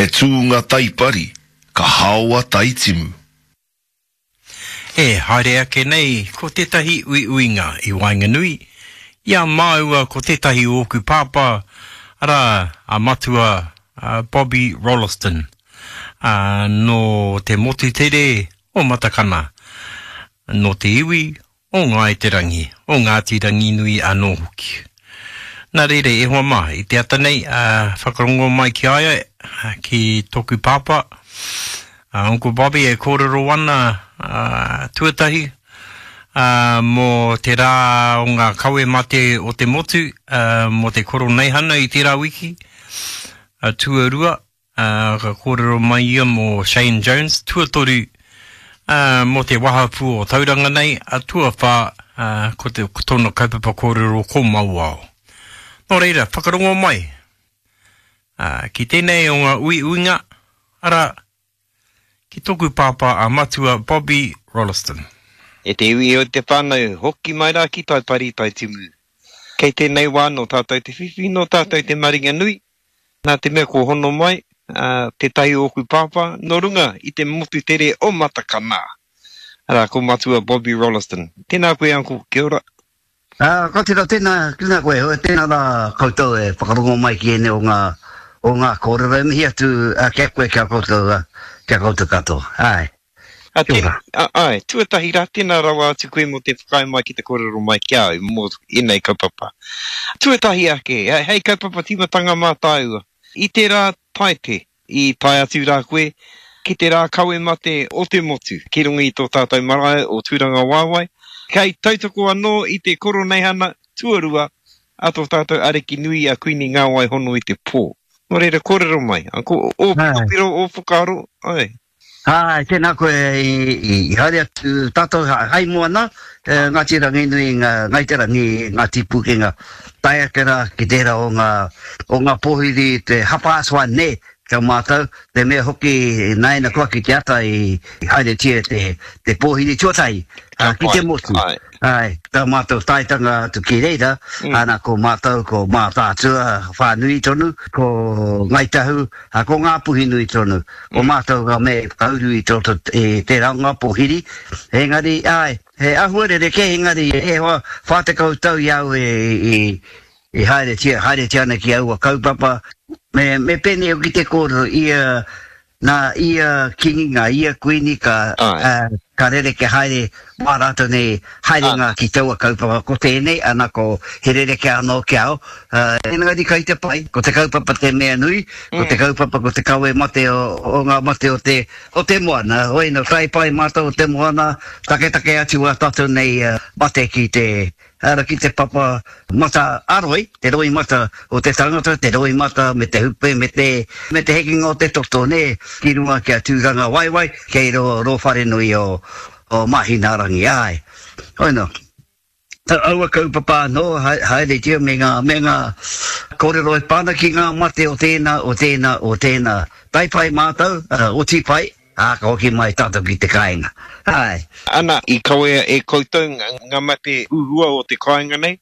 He tūnga taipari, ka haoa taitimu. E haere ake nei ko tētahi uiuinga i waenganui i a māua ko tētahi o ōku pāpā, arā, a Matua Bobby Rolleston, ā, nō te motu tere o Matakana, nō te iwi o Ngāi Te Rangi, o Ngāti Ranginui anō hoki. Nā reira, e hoa mā, i te ata nei, ā, whakarongo mai ki a ia, ki tōku pāpā, a Uncle Bobby e kōrero ana, ā, tuatahi, ā, mō te rā o ngā kawe mate o te motu, ā, mō te Koroneihana i tērā wiki, ā, tuarua, Ā, ka kōrero mai ia mō Shane Jones, tuatoru, ā, mō te wahapū o Tauranga nei, ā, tuawhā, ā, ko te, ko tōna kaupapa kōrero ko Mauao. Nō reira, whakarongo mai, ā, ki tēnei o ngā uiuinga, arā, ki tōku pāpā a Matua Bobby Rolleston. E te iwi o te whānau, hoki mai rā ki Taipari, Taitimu. Kei tēnei wā nō tātou te whiwhi, nō tātou te maringanui, Nā te mea kua hono mai tētahi o ōku pāpā nō runga i te motu tere o Matakana, arā, ko Matua Bobby Rolleston. Tēnā koe, Uncle. Kia ora. Ā, ka tira, tēnā, tēnā koe, tēnā rā koutou e whakarongo mai ki ēnei o ngā, o ngā kōrero e mihi atu ki a koe, ki a koutou, ki a koutou katoa. Āe. A, Kia ora. A, āe, tuatahi rā, tēnā rawa atu koe mō te whakaae mai ki te kōrero mai ki a au mō ēnei kaupapa. Tuatahi ake, hei kaupapa tīmatanga mā tāua. I te rā Taepe, i tae atu rā koe ki te rā kawe mate o te motu ki runga i tō tātou marae o Tūrangawaewae, kei tautoko anō i te Koroneihana tuarua a tō tātou Ariki nui a Kuini Ngāwai Hono i te Pō. Nō reira, kōrero mai, ō piropiro, ō whakaaro, āe. Āe, tēnā koe i haere atu tātou hai moana, Ngāti Ranginui, Ngāi Te Rangi, Ngāti Pūkenga, tae ake rā ki tērā o ngā, o ngā pōhiri te hapāswa nē ki a mātou, te mea hoki nāina koa ki te ata i haeretia te, te pōhiri tuatahi ki te motu. Āe, tā mātou taetanga atu ki reira, ana ko mātou ko Mātaatua whānui tonu, ko Ngāi Tahu, Ā, ko Ngāpuhi nui tonu, ko mātou ngā mea i whakauru i roto i tērā o ngā pōhiri, engari, āe, he āhua rerekē, engari e hoa, 40 tau i a au e, i haeretia, haeretia ana ki aua kaupapa, me, me pēnei hoki te kōrero, ia, nā ia kīngi, nā ia kuini ka, ka rerekē haere wā rātou nei haerenga ki taua kaupapa, ko tēnei, ana ko he rerekē anō ki a au, engari kai te pai, ko te kaupapa te mea nui, ko te kaupapa ko te kawe mate o ngā mate o te, o te moana, hoi nō tae pai mātou o te moana, taketake atu wā tātou nei mate ki te, Ara ki te papa mata a roi, te roi mata o te tangata, te roi mata me te hupe, me te, me te hekenga o te toto, nē, ki runga ki a Tūrangawaewae, kei rō, rō wharenui o, o Māhinaarangi, āe. Hoi nō. Aua kaupapa anō, haeretia me ngā, me ngā kōrero e pā ana ki ngā mate o tēnā, o tēnā, o tēnā. Tae pai mātou, oti pai. Ā, ka hoki mai tātou ki te kāinga. Āe. Ana, i kawea e koutou ngā mate huhua o te kāinga nei.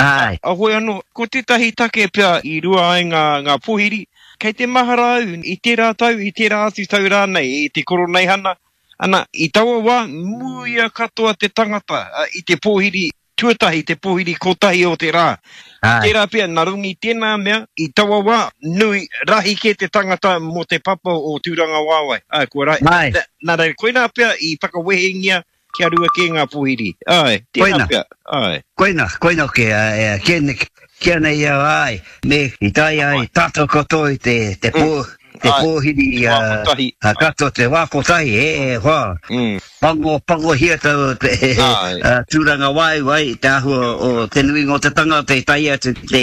Āe. A, hoi anō, ko tētahi take pea i rua ai ngā, ngā pohiri, kei te mahara au i tērā tau, i tērā atu tau rānei, i te Koroneihana, ana, i taua wā, muia katoa te tangata i te pōhiri Tuatahi, te pōhiri kotahi o te rā. Āe. Tērā pea, nā runga i tēnā mea, i taua wā, nui, rahi kē te tangata mō te papa o Tūrangawaewae. Āe, kua rahi. Āe. Nā reira, koinā pea i whakawehengia kia rua kē ngā pōhiri. Āe, tērā Koina. pea, āe. Koina, koina hoki, ā, kia, kia nei au, āe, me i tae ai tātou katoa i te, te pō, te pōhiri, Te wā kotahi. ā, katoa te wā kotahi, e, e hoa. Pango, pangohia tau te tūrangawaewae i te āhua o te nuinga o te tangata i tae atu ki te,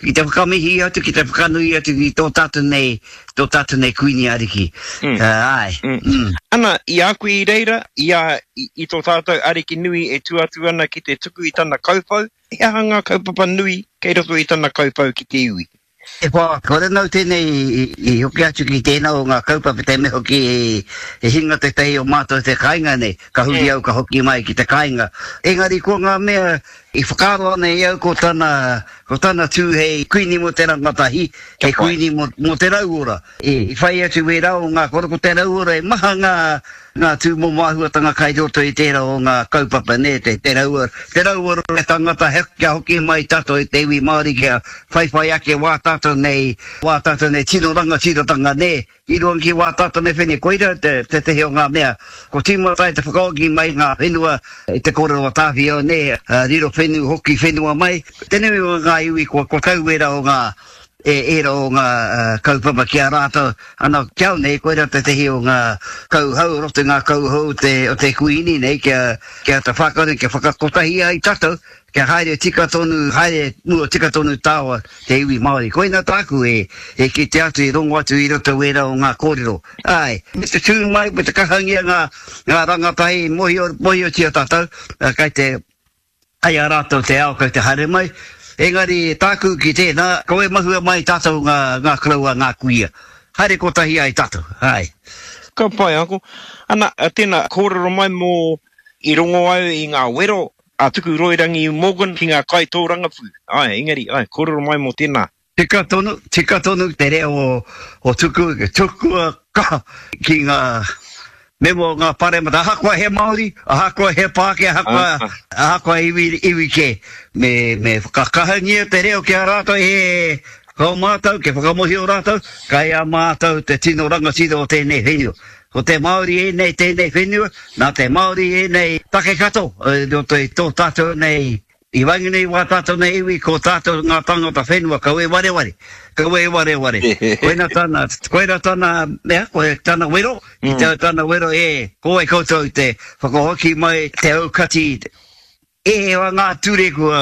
ki te whakamihi atu, ki te whakanui atu ki tō tātou nei, tō tātou nei Kuini Ariki. Āe. Mm. Ana, i a koe i reira, i a, i, i tō tātou Ariki nui e tū atu ana ki te tuku i tana kauwhau, he aha ngā kaupapa nui kei roto i tana kauwhau ki te iwi? E hoa, kore nau tēnei i hoki atu ki tēnā o ngā kaupapa, te mea hoki i hinga tētahi o mātou te kāinga nei, ka huri au ka hoki mai ki te kāinga. Engari ko ngā mea I whakaaro ana e au ko tana, ko tana tū hei kuini mō te rangatahi, hei kuini mō, mō te rauora. I whai atu wērā o ngā koro ko te rauora e maha ngā, ngā tūmomo āhuatanga kai roto i tērā o ngā kaupapa nē, te, te rauora, te rauora o te tangata he, kia hoki mai tātou i te iwi Māori kia whaiwhai ake wā tātou nei, wā tātou nei tino rangatiratanga nē, I runga ki wā tātou nei whenua, koira tētehi o ngā mea ko tīmata ai te whakaoki mai ngā whenua i te kōrero a Tāwhiao nē, riro whenu hoki whenua mai. Te nui o ngā iwi kua tau ērā o ngā, ērā o ngā kaupapa ki a rātou, ana ki au nei koira tētehi o ngā kauhau, roto i ngā kauhau o te Kuini nei kia āta whākau, kia whakakotahi ai tātou Kia haere tika tonu, haere mua tika tonu tāua te iwi Māori. Koina tāku e, e kite atu, e rongo atu i roto wērā o ngā kōrero. Āe, me te tū mai, me te kahangia ngā, ngā rangatahi, mohio, mohiotia tātou, kai te, kai a rātou te ao kai te haere mai. Engari tāku ki tēnā, kaua e mahue mai tātou ngā, ngā koroua, ngā kuia. Haere kotahi ai tātou, āe. Ka pai, Uncle. Ana, tēnā, kōrero mai mō, i rongo au i ngā wero A Tuku Roirangi Morgan ki ngā kaitōrangapū. Āe, engari, āe, kōrero mai mō tēnā. Tika tonu, tika tonu te reo o Tuku, tukua kaha ki ngā mema o ngā paremata, ahakoa he Māori, ahakoa he Pākehā, ahakoa, ahakoa iwi, iwi kē. Me, me whakakahangia te reo ki a rātou, he, ko mātou, kia whakamohio rātou, kai a mātou te tino rangatira o tēnei whenua. Ko te Māori ēnei tēnei whenua, nā te Māori ēnei take kato i roto i tō tātou nei, i waenganui i wā tātou nei iwi, ko tātou ngā tāngata whenua, kaua e wareware, kaua e wareware. Koina tana, koina tana mea, koe tana wero, ki te tana wero, e, ko wai koutou te whakahoki mai te aukati E wa ngā ture kua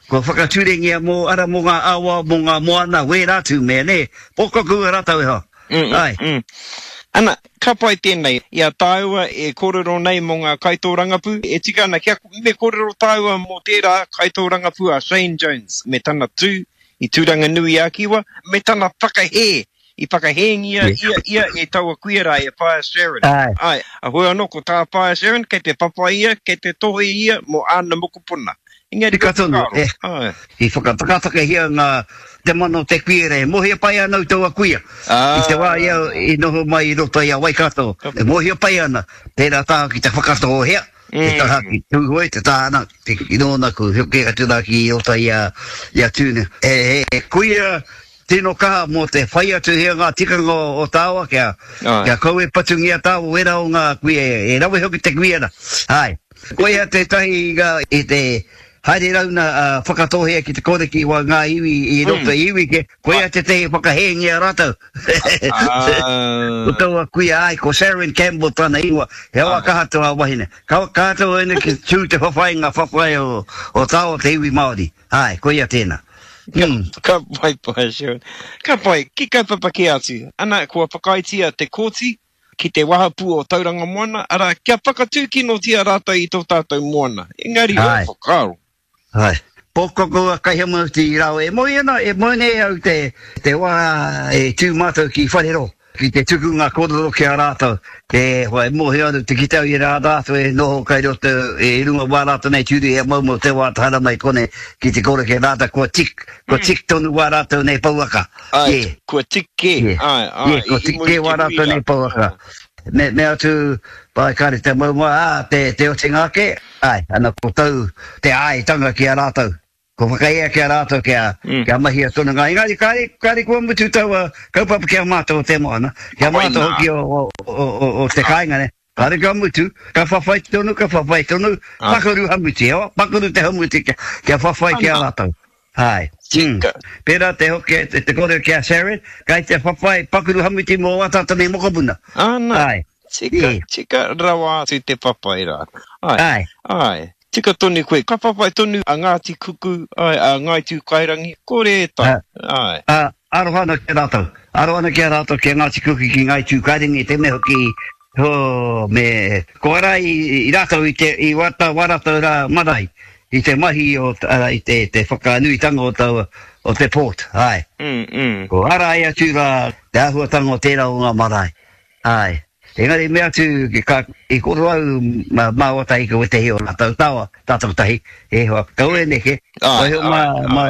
kua whakaturengia mō ara mō ngā awa, mō ngā moana, wērā atu mea, nē? Pōkoku a rātou e hoa. Āe. Ana, ka pai tēnei, i a tāua e kōrero nei mō ngā kaitōrangapū, e tika ana kia me kōrero tāua mō tērā kaitōrangapū a Shane Jones me tana tū i Tūranganui-a-Kiwa, me tana whakahē I whakahēngia ia ia e taua kuia rā e Whaea Sharon. Āe. A hoi anō ko tā Whaea Sharon, kei te whawhai ia, kei te tohe ia mō āna mokopuna. Engari Tika tonu, e. Āe. I whakatakatakahia ngā, te mana o te kuia rā. E mōhio pai ana au taua kuia. I te wā ia i noho mai i roto i a Waikato, e mōhio pai ana, tērā taha ki te Whakatōhea, te taha ki Tūhoe, te taha ana, ki nōna ku hoki atu rā ki roto i a, i a Tūne. He kuia Tino kaha mō te whai atu hea ngā tikanga o tāua kia, kia kaua e patungia tāua wera o ngā kuia e rawe hoki te kuia na. Āe. Koia tētahi i te haere rauna a Whakatōhea ki te koreki wa ngā iwi i roto i iwi ke, koia tētahi whakahēngia rātou. Ko taua kuia āe, ko Sharon Campbell tana ingoa, he awa kaha tō a wahine. Ka kaha tō wahine ki tū te whawhai ngā whawhai o tāua te iwi Māori. Āe, koia tēnā. Ka pai, pai, Sharon. Ka pai, ki kaupapa kē atu. Ana, kua whakaaetia te kōti ki te wahapū o Tauranga Moana, arā, kia whakatūkinotia rātou i tō tātou moana. Engari, ō whakaaro. Āe. Pōkoko a Kaihamutu i rāua e moe ana, e moe nei au te, te wā e tū mātou ki Wharero. Ki te tuku ngā kōrero ki a rātou, e hoa e mōhio ana te kite au i rā rātou e noho kai roto i runga wā rātou nei tūru he moumou te wā te haramai konei ki te kore kei rātou kua tik, kua tik tonu wā rātou nei pouaka. Āe, kua tik kē, āe, āe, kua tik kē wā rātou nei pouaka. Me, me atu, pai kāre te moumou, ā, te, te otinga ake, āe, ana ko tau te āetanga ki a rātou. Kua whakaea ki a rātou kia, kia mahia tonu ngā engari kāre, kāre kua mutu taua kaupapa ki a mātou o te moana, ki a mātou hoki o, o, o, o, o te kāinga nei. Kāre kua mutu, ka whawhai tonu, ka whawhai tonu, pakaru hamuti, ewa, pakaru te hamuti kia, kia whawhai ki a rātou. Āe. Mm. Pērā te hoki, te, te kōrero ki a Sharon, kai te whawhai pakaru hamuti mō wā tātou nei mokopuna. Ana. Āe. Tika, tika rawa atu te whawhai rā. Āe. Āe. Āe. Tika tonu koe. Ka whawhai tonu a Ngāti Kuku, āe, a Ngāi Tūkairangi, kore e taea, āe. Ā, aroha ana ki a rātou. Aroha ana ki a rātou, ki a Ngāti Kuku, ki Ngāi Tūkairangi, te mea hoki, hō, me, ko ara i, i rātou i te, i wā tā, wā rātou rā marae, i te mahi o, arā, i te, te whakanuitanga o taua, o te port, āe. Mm, mm. Ko ara ai atu rā te āhuatanga o tērā o ngā marae, āe. Engari mea atu, ka, i koro au māua tahi ki wētehi o rātou tawa, tātou tahi, e hoa, kaua e neke, waiho mā, mā,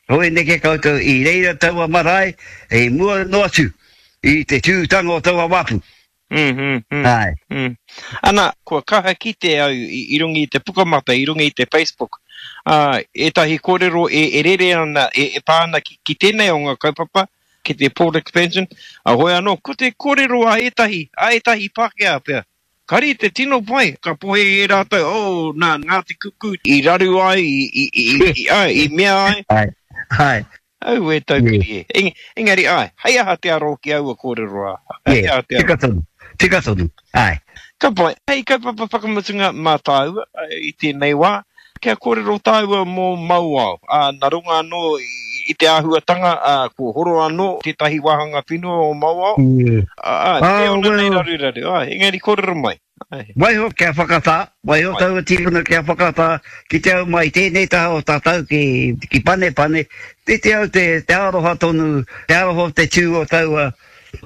kaua e neke koutou i reira taua marae i mua noa atu i te tūtanga o taua wāpu. Mm, mm, mm, Āe. Mm. Ana, kua kaha kite au i, i runga i te pukamata, i runga i te Facebook, ā, ētahi kōrero e, e rere ana, e, e pā ana ki, ki tēnei o ngā kaupapa, ki te Port Expansion, ā, hoi anō, ko te kōrero a ētahi, a ētahi Pākehā pea, kāre i te tino pai, ka pohe e rātou, oh, nā Ngāti Kuku i raru ai, i, i, i, i, āe, i mea ai. Āe, āe. Aue taukiri e. Eng, engari, āe, hei aha te aro ki aua kōrero rā? Hei aha te aro? Tika tonu, tika tonu, āe. Ka pai. Hei kaupapa whakamutunga mā tāua i tēnei wā, kia kōrero tāua mō Mauao. Ā, nā runga anō i te āhuatanga, ā, kua horo anō tētahi wāhanga whenua o Mauao. Ā, ā, tē ona nei raruraru, āe, engari kōrero mai. Āe. Waiho kia whakatā, waiho taua tīpuna kia whakatā ki te au mai tēnei taha o tātou ki, ki Panepane, te te au te, te aroha tonu, te aroha o te tū o taua,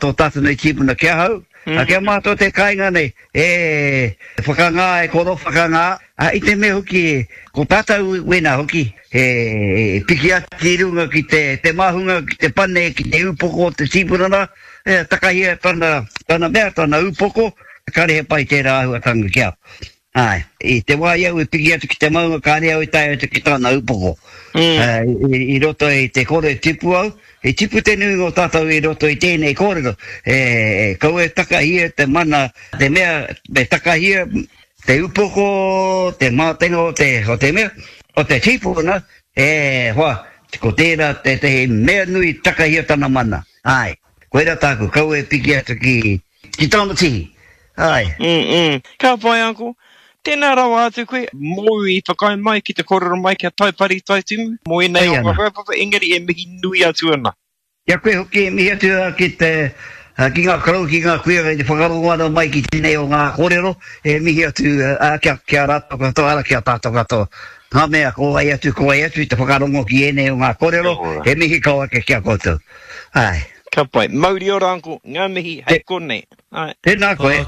tō tātou nei tīpuna ki ahau, mm. Kia mātou te kāinga nei, e whakangā, e koro whakangā, a, i te mea hoki, ko tātou wēnā hoki, e, e piki atu ki runga ki te, te māhunga, ki te pane, ki te upoko o te tīpuna rā, e, takahia tana, tana mea, tana upoko, Kāre he pai tērā āhuatanga ki a. Āe, i te wā i au i piki atu ki te maunga kāre au i tae atu ki tana upoko. Mm. I, i roto i te kore tipu au, i tipu te nuinga o tātou i roto i tēnei kōrero, e, e kaua e takahia te mana, te mea, me takahia te upoko, te mātenga o te, o te mea, o te tīpuna, e hoa, ko tērā tētehi mea nui takahia tana mana. Āe, koirā tāku, kaua e piki atu ki, Ki tōna tihi. Āe. Mm, mm. Ka pai, Uncle. Tēnā rawa atu koe, mōu i whakaae mai ki te kōrero mai kia Taipari Taitimu, mō ēnei o ngā kaupapa, engari e mihi nui atu ana. Ki a koe hoki e mihi atu ana ki te, ki ngā karau, ki ngā kuia kei te whakarongo ana mai ki tēnei o ngā kōrero, e mihi atu kia, ki a rātou katoa, ara ki a tātou katoa. Ngā mea, ko wai atu, ko wai atu i te whakarongo ki ēnei o ngā kōrero, he mihi kau ake ki a koutou. Āe. Ka pai. Mauri ora uncle. Nga mihi hei konei. Ae. Tēnā koe.